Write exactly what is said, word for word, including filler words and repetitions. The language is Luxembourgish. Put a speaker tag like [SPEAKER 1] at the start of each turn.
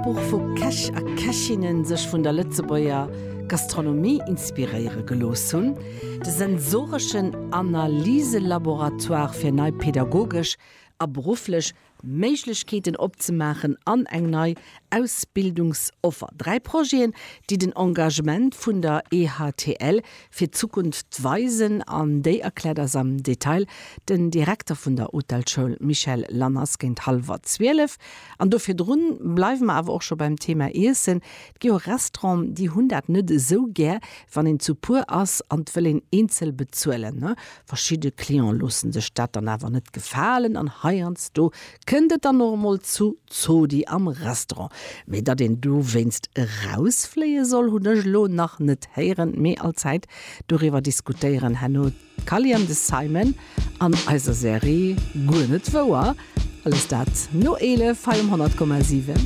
[SPEAKER 1] Kochbuch wou Käch a Kächinnen sech vun der Lëtzebuerger Gastronomie inspiréiere gelooss hunn, de sensoreschen Analyselaboratoire fir nei pedagogesch a berufflech Méiglechkeeten opzemaachen an eng nei Ausbildungsoffer. Dräi Projeten, déi den Engagement vun der EHTL fir d'Zukunft weisen an déi erkläert eis am Detail den Direkter vun der Hotelschoul Michel Lanners géint hallwer zwielef. An do virdrun bleiwe mer awer och scho beim Thema Iessen. Et gi jo Restauranten, déi hunn dat net esou gär, wann een zu puer ass an et wëll een eenzel bezuelen. Verschidde Clienten loosse sech dat dann awer net gefalen an heiansdo kënnt et dann och emol zu Zodi am Restaurant. Mee datt een dowéinst erausfléie soll, hunn ech elo nach net héieren. Mee allzäit doriwwer diskutéieren herno d'Cally an de Simon an eiser Serie Guer net wouer. Alles dat no eelef hei um honnert Komma siwen.